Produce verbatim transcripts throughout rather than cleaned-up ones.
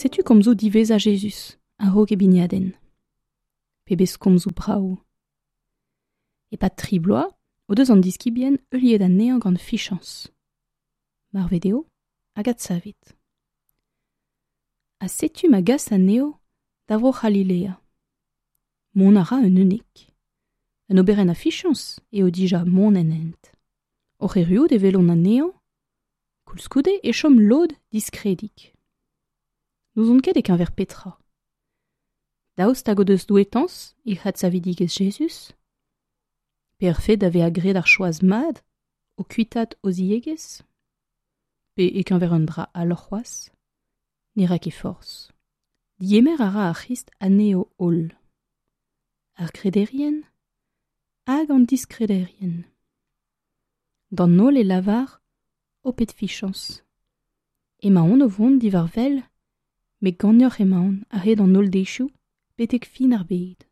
Setu komzoù diwezhañ Jezuz a-raok e bignadenn. Pebezh komzoù brav. E-pad tri bloaz o deus an diskibien heuliet anezhañ gant fichañs. Marvet eo hag adsavet. Ha setu ma gas anezho da vro C'halilea. Mont a ra un unnek. Un oberenn a fichañs eo dija mont en hent. Oc'h erruout e welont anezhañ, koulskoude e chom lod diskredik. N'ouzont ket e-keñver petra. Daoust hag o deus douetañs e adsavidigezh Jezuz? Pe ar fed da vezañ graet ar choaz mat o kuitaat o ziegezh? Pe e-keñver un dra all c'hoazh? Ne ra ket forzh. Digemer a ra ar C'hrist anezho holl. Ar grederien hag an diskrederien. D'an holl e lavar ho pet fichañs. Emaon o vont diwar wel, met ganeoc'h emaon a-hed an holl deizioù betek fin ar bed.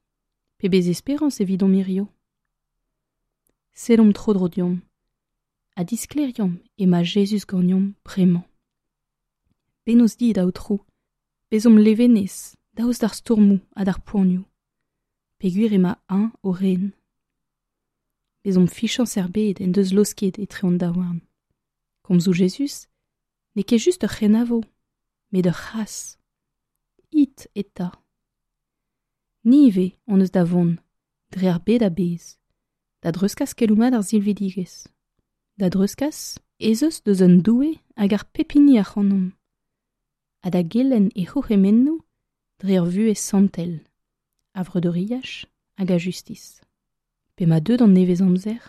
Pebezh esperañs evidomp hirio. Sellomp tro-dro deomp ha disklêriomp emañ Jezuz ganeomp bremañ. Bennozh dit, Aotrou, bezomp levenez daoust d'ar stourmoù ha d'ar poanioù, peogwir emañ eñ o ren. Bezomp fichañs er bed en deus laosket etre hon daouarn. Komzoù Jezuz n'eo ket just ur c'henavo, met ur c'hras. It eta. Ni ivez hon eus da vont, dre ar bed a-bezh, da dreuzkas keloù mat ar silvidigezh. Da dreuzkas ez eus deus un Doue hag ar pep hini ac'hanomp, ha da gelenn e c'hourc'hemennoù dre ur vuhez santel, a vreudeuriaj hag a justis. P'emañ deuet an nevez-amzer,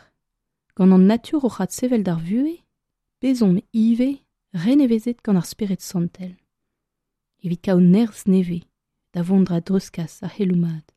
gant an natur oc'h adsevel d'ar vuhez, bezomp ivez renevezet gant ar Spered Santel. Evit kaout nerzh nevez da vont da dreuzkas ar c'heloù mat.